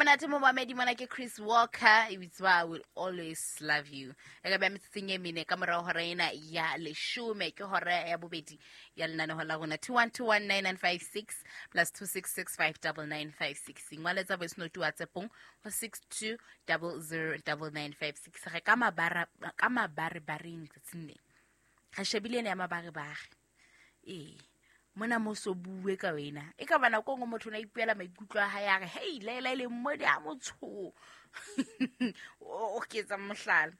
Monate momamedi, mona ke Chris Walker, e bitswa "I Will Always Love You". E ka beha metsotsong e mene ka morao hora ena ya 10, ke hora ya bobedi ya lenaneho la rona. 21219956 plus 26659956. Ngwaletsa voice note WhatsAppong ho 62009956. Re ka mabara ka mabarebareng tsatsing le re shebile ena ya mabarebare. Ee, mona mo so bue ka wena, e ka ba nako e nngwe motho o ne a ipuela maikutlo a hae, a re hei, laela e leng mo di a motsho o ke etsa mohlala.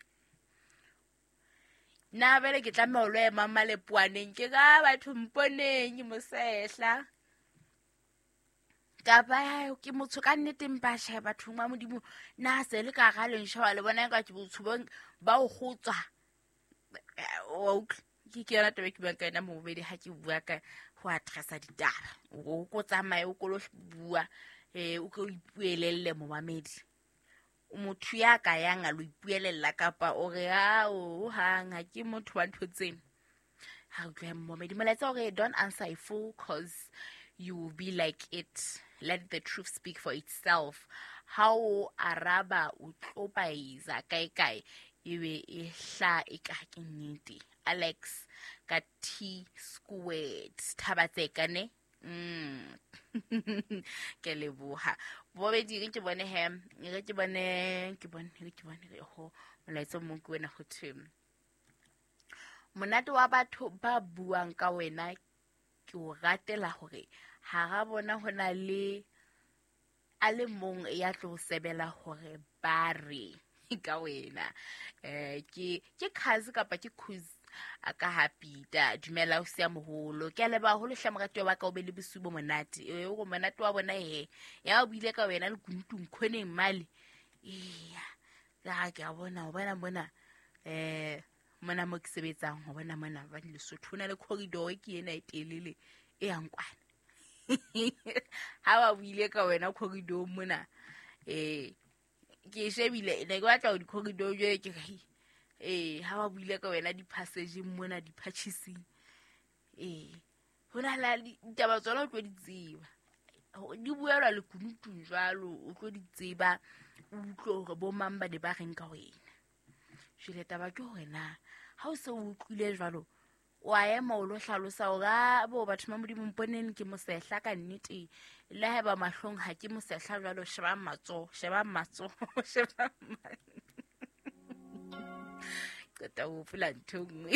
Nna bele ke tlameha ho lo ema malepoaneng, ke ka batho mponeng ke mosehla kapa ke motho ka nnete, mpa tjhe, bathong ba Modimo, na se le ka ga leng sheba le bona ka ke botsho ba o gotswa wa utlwa. Ke yona taba e ke buang ka yona mobedi ha ke bua ka ho addressa ditaba, o ko tsamaye, o ko lo bua, o ko ipuelelle momamedi. Motho ya ka yang a lo ipuelella kapa o re a o hang ha ke motho wa ntho tseno. Ha utlwe momamedi, molaetsa o re, "Don't answer a fool, 'cause you will be like it. Let the truth speak for itself." Ha o araba o tlo baiza kae kae, ebe e hla e ka ke nnete. Alex ka T squared Thabatseka ne. Ke leboha bobedi. Re ke bone he, re ke bone, ke bone, re ke bone re ho molaetsa o mong ke wena, ho thwe monate wa batho ba buang ka wena ke o ratela hore hara bona ho na le a le mong ya tlo sebela hore ba re ka wena. Ke cousin kapa ke cuz a ka ha Peter. Dumela o sia moholo, ke a leboha haholo hle moratuwa wa ka, o be le bosiu bo monate. E o monate wa bona he ya o buile ka wena le kunutung khoneng male. Eya, ka ke a bona, o bona mona, mona mo ke sebetsang, ho bona mona ba Lesotho ho na le corridor ke ena e telele e yang kwana. Ha ba buile ka wena corridor mona, ke shebile, ne ke batla ho di-corridor jwale ke re ha ba buile ka wena di-passageng mona, di-purchasing, ho na le ditaba tsona o tlo di tseba, di buelwa lekunutung jwalo, o tlo di tseba, o utlwe hore bo mang ba ne ba reng ka wena. Jwale taba ke hore na ha o se o utlwile jwalo, o a ema o lo hlalosa hore a bo batho ba Modimo mponeng ke mosehla ka nnete, le haeba mahlong ha ke mosehla jwalo, shebang matsoho, shebang matsoho, shebang. Qeta ho hopola ntho e nngwe.